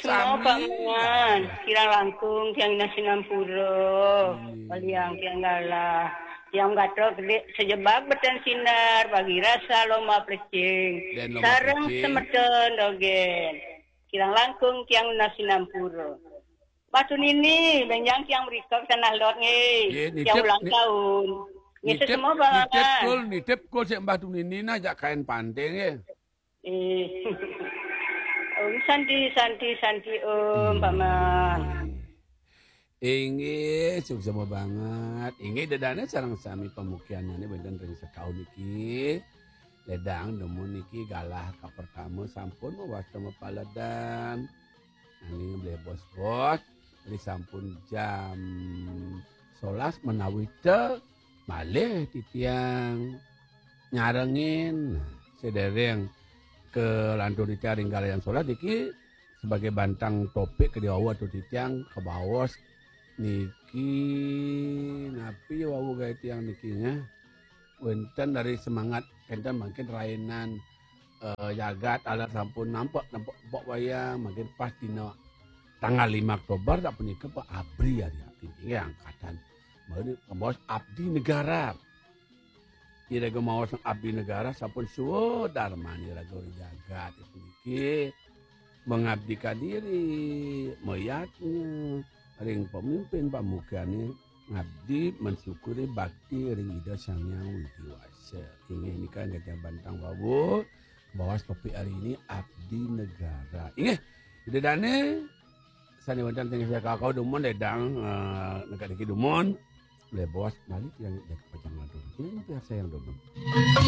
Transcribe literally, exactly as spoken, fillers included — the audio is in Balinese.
Mau Pak Mangan, kirang langkung tiang nunas sinampura. Baliang tiang galah. Tiang gatel gedé sajebag betén sinar, bagi rasa loma plecing. Sareng semeton dogén. Kirang langkung tiang nunas sinampura. Batu nini, bénjang tiang mrika ka Tanah Lot nggih. Tiang ulang tahun. Nggih, nitip, sesama nitip kul, nitip kul sik Mbah Tunini nah jak kain panté nggih. Eh. Om santi, santi, santi, Om, Paman. Inggih, suksma banget. Inggih, Ida Dané sareng sami pamukianné wénten ring sekaun niki. Ledang dumun niki galah kapertama sampun mawasta mapaledan. Nanging bos-bos, ri sampun jam solas menawi té malih titiang nyarengin. Nah, sedereng kalantur titiang ring galayan solas niki sebagai bantang topik kedé wau atur titiang kabaos niki napi wau gaé tiang niki nggih. Wénten dari semangat kénten mangkin rainan eh, jagat alat sampun nampek, nampek empok wayang, mangkin pas dina tanggal lima Oktober tak punika Pak Abri ari nggih angkatan. Mangkin maos Abdi Negara. Iraga maos Abdi Negara sampun suwé darman iraga ring jagat puniki mengabdikan diri, mayadnya ring pemimpin pamukiané ngabdi mensyukuri bakti ring Ida Sang Hyang Widhi Wasa. Inggih nika gajah bantang wau. Bawas topik hari ini Abdi Negara. Inggih, Ida Dané sané wénten tengah kakau dumun ledang eh, negak niki dumun. Lé bawas balik yang pacang lantur. Ini pihak saya yang dumun.